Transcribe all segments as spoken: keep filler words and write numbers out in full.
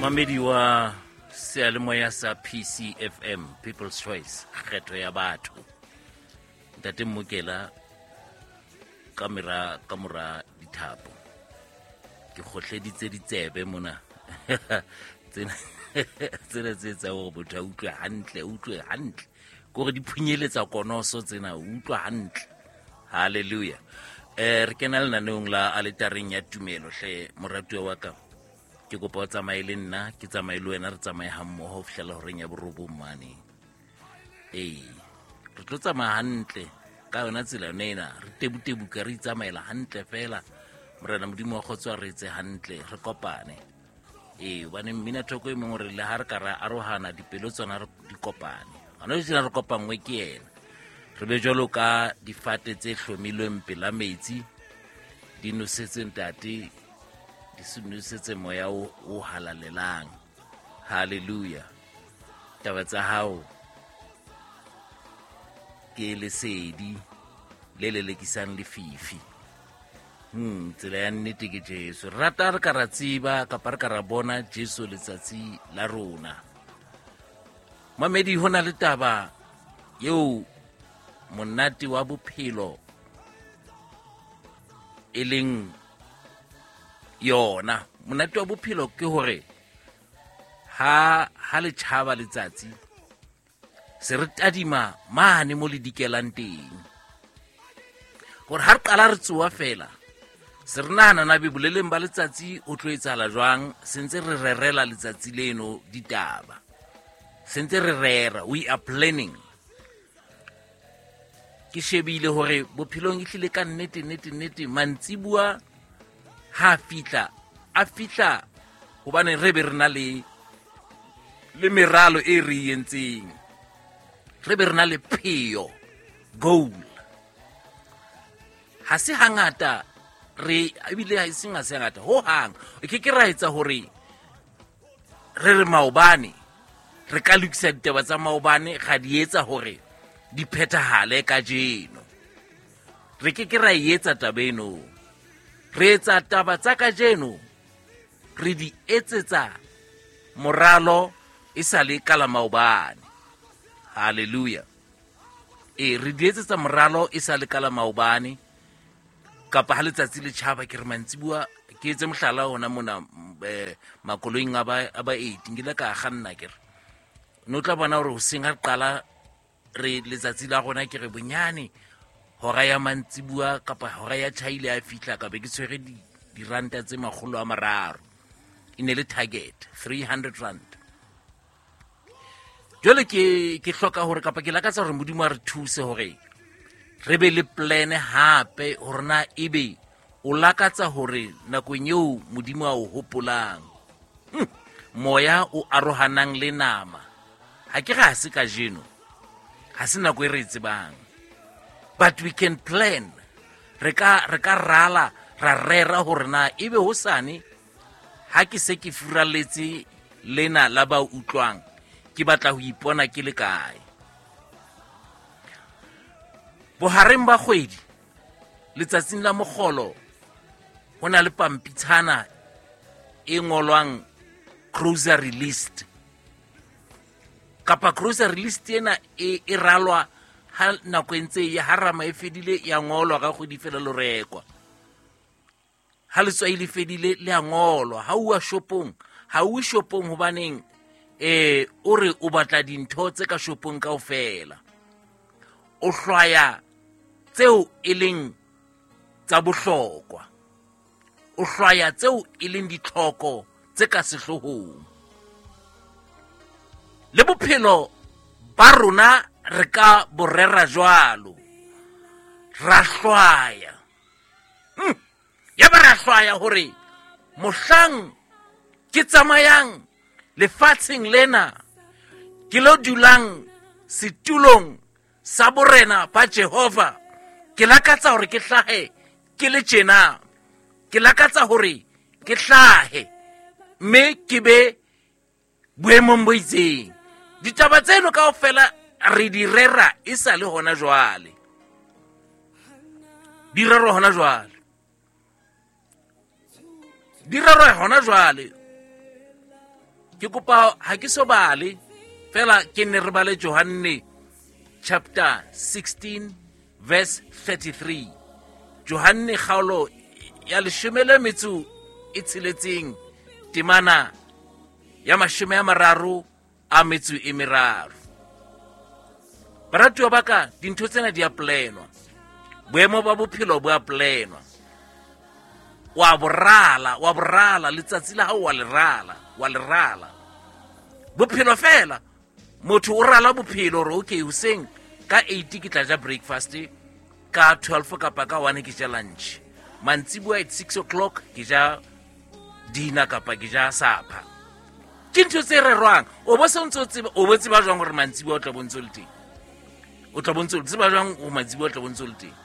Mamedi wa seyalemoya sa P C F M, People's Choice, kgetho ya batho. Ntate Mmokela ka mera ka mora dithapo. Ke kgohleditse ditsebe mona. Tsena tsena tse tsa hore motho a utlwe hantle, utlwe hantle. Ke hore di phunyeletsa konoso tsena, utlwa hantle. Hallelujah. Eh re kena lenaneong la aletareng ya tumelo hle moratuwa wa ka. Ke kopa o tsamaye le nna, ke tsamaye le wena, re tsamaye ha mmoho ho fihlela horeng ya borobong mane. Ee, re tlo tsamaya hantle ka yona tsela yona ena, re tebutebuka re itsamaela hantle fela. Morena Modimo wa kgotso a re etse hantle, re kopane. Ee, hobane mmina thoko e mongwe re le ha re ka ra arohana dipelo tsona re di kopane. Hona jwale re kopanngwe ke yena. Re be jwalo ka difate tse hlomilweng pela metsi, di nosetse ntate, di se nosetse moya o, o halalelang. Hallelujah. Taba tsa hao ke lesedi le lelekisang lefifi. Hmm, tsela ya nnete ke Jesu. Re rata re ka ra tseba kapa re ka ra bona Jesu letsatsi la rona. Mamedi, ho na le taba eo monate wa bophelo e leng yona. Monate wa bophelo ke hore ha, ha le tjhaba letsatsi se re tadima mane mo le dikelang teng. Hore ha re qala re tsoha fela, se re nahana na be boleleng ba letsatsi o tlo etsahala jwang, se ntse re rerela letsatsi leno ditaba. Se ntse re rera, we are planning. Ke shebile hore bophelong e hlile ka nnete, nnete, nnete, mantsibuya ha fihla, a fihla hobane re be re na le, le meralo e re e entseng. Re be re na le pheo, goal. Ha se hangata re, ebile ha e seng ha se hangata, ho hang. E ke ke ra etsa hore re re maobane, re ka lokisa ditaba tsa maobane, ra di etsa hore di phethahale kajeno. Re ke ke ra e etsa taba eno. Re etsa taba tsa kajeno, re di etsetsa moralo e sa le ka la maobane. Hallelujah. E, re di etsetsa moralo e sa le ka la maobane. Kapa ha letsatsi le tjhaba, ke re mantsibuya, ke etse mohlala hona mona, eh, makoloing a ba, a ba eight, nkile ka kganna ke re. No tla bona hore hoseng ha re qala re letsatsi la rona, ke re bonyane hora ya mantsibuya kapa hora ya tjhaile ya fihla, ka be ke tshwere di-, diranta tse makgolo a mararo. E ne le target, three hundred rand. Jwale ke, ke hloka hore kapa ke lakatsa hore Modimo a re thuse hore re be le plan hape, hore na ebe o lakatsa hore nakong eo Modimo a o hopolang, hmm, moya o arohanang le nama. Ha ke re ha se kajeno, ha se nako e re e tsebang, but we can plan. Re ka, re ka rala, ra rera hore na ebe hosane ha ke se ke furaletse lena la ba utlwang, ke batla ho ipona ke le kae. Bohareng ba kgwedi, letsatsing la mokgolo, ho na le pampitshana e ngolwang grocery list. Kapa grocery list ena e, e ralwa ha nako e ntse e ya, ha rama e fedile ya ngolwa ka kgwedi fela lo rekwa. Ha letswai le fedile le a ngolwa. Ha o ya shopong, ha o shopong hobaneng, eh, o re o batla dintho tse ka shopong kaofela. O hlwaya tseo e leng tsa bohlokwa. O hlwaya tseo e leng ditlhoko tse ka sehloohong. Le bophelo ba rona re ka bo rera jwalo. Ra hlwaya. Hmm. Ya ba ra hlwaya hore mohlang ke tsamayang lefatsheng lena, ke lo dulang setulong sa borena ba Jehova, ke lakatsa hore ke hlahe ke le tjena. Ke lakatsa hore ke hlahe mme ke be boemong bo itseng. Ditaba tseno kaofela re di rera e sa le hona jwale. Di rerwa hona jwale. Di rerwa hona jwale. Ke kopa ha ke so bale fela ke ne re bale Johanne chapter sixteen verse thirty-three. Johanne kgaolo ya leshome le metso e tsheletseng temana ya mashome a mararo a metso e meraro. Baratuwa ba ka, dintho tsena di a planwa. Boemo ba bophelo bo a planwa. Wa borala, wa borala letsatsi la hao wa le rala, wa le rala. Bophelo fela, motho o rala bophelo hore okay hoseng ka eight ke tla ja breakfast, ka twelve kapa ka one ke ja lunch. Mantsiboya at six o'clock ke ja dinner kapa ke ja supper. Ke ntho tse rerwang. O bo se ntse o tseba, o bo tseba jwang hore mantsiboya o tla bo ntse o le teng? O tla bo ntse o tseba jwang hore mantsiboya o tla bo ntse o le teng?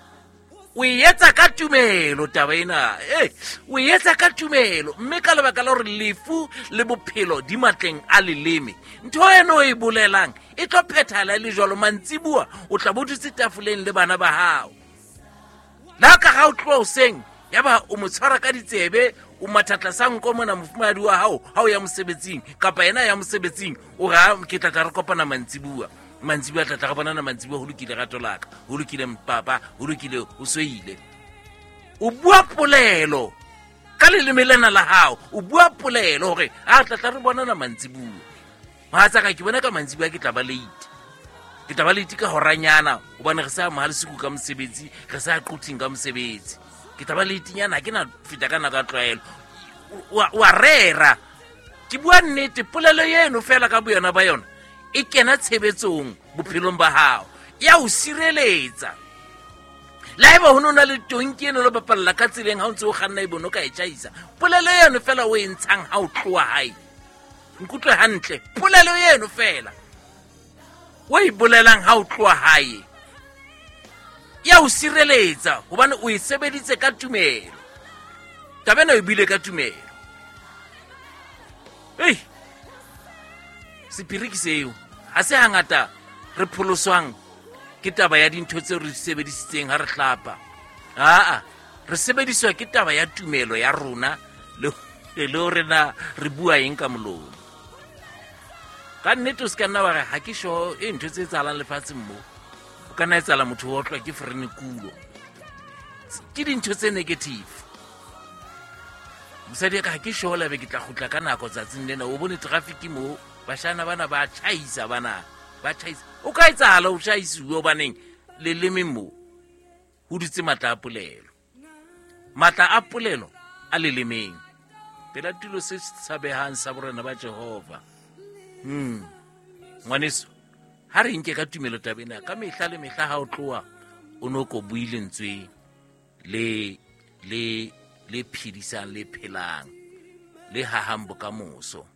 O e etsa ka tumelo taba ena. Eh, o e etsa ka tumelo mme ka lebaka la hore lefu le bophelo di matleng a leleme. Ntho eno e bolelang e tlo phethahala le jwalo. Mantsiboya o tla bo dutse tafoleng le bana ba hao. La ka ha o tloha hoseng, yaba o mo tshwara ka ditsebe, o mathatla sa nko mona mofumahadi wa hao ha o ya mosebetsing kapa yena ya mosebetsing, o re, ha ke tla tla re kopana mantsiboya. Mantsiboya tla tla re bonana mantsiboya, ho lokile rato la ka, ho lokile mpapa, ho lokile o soile. O bua polelo ka leleme lena la hao, o bua polelo hore a tla tla re bonana mantsiboya. Mohatsaka ke bona ka mantsiboya ke tla ba late. Ke tla ba late ka horanyana hobane re sa mohalesiku ka mosebetsi, re sa quthing ka mosebetsi. Ke tla ba late nyana, ha ke na feta ka nako ya tlwaelo. Wa, wa rera. Ke bua nnete, polelo eno fela ka boyona ba yona e kena tshebetsong bophelong ba hao, ya o sireletsa. Le haeba ho no na le tonki eno le bapalla ka tseleng ha o ntse o kganna e bono ka e tjhaisa, polelo eno fela o e ntshang ha o tloha hae, nkutlwe hantle, polelo eno fela o e bolelang ha o tloha hae ya o sireletsa hobane o e sebeditse ka tumelo. Taba ena o e buile ka tumelo. Ei, sephiri ke seo. Ha se hangata re pholoswang ke taba ya dintho tseo re di sebedisitseng ha re hlapa. Aa, re sebediswa ke taba ya tumelo ya rona le, le hore na re bua eng ka molomo. Ka nnete o se ka nna wa re ha ke sure e ntho tse etsahalang lefatsheng mo. O ka nna etsahala motho o otlwa ke ferenekulo. Ke dintho tse negative. Mosadi ya ka ha ke sure la be ke tla kgutla ka nako tsatsing lena. O bone traffic mo, bashana bana ba tjhaisa bana, ba tjhaisa. O ka etsahala o tjhaisiwe hobaneng leleme mo ho dutse matla a polelo. Matla a polelo a lelemeng. Pela tulo se tshabehang sa borena ba Jehova. Hmm. Ngwaneso, ha re nke ka tumelo taba ena, ka mehla le mehla ha o tloha o no ko bue lentswe le, le, le phedisang, le phelang, le hahang bokamoso.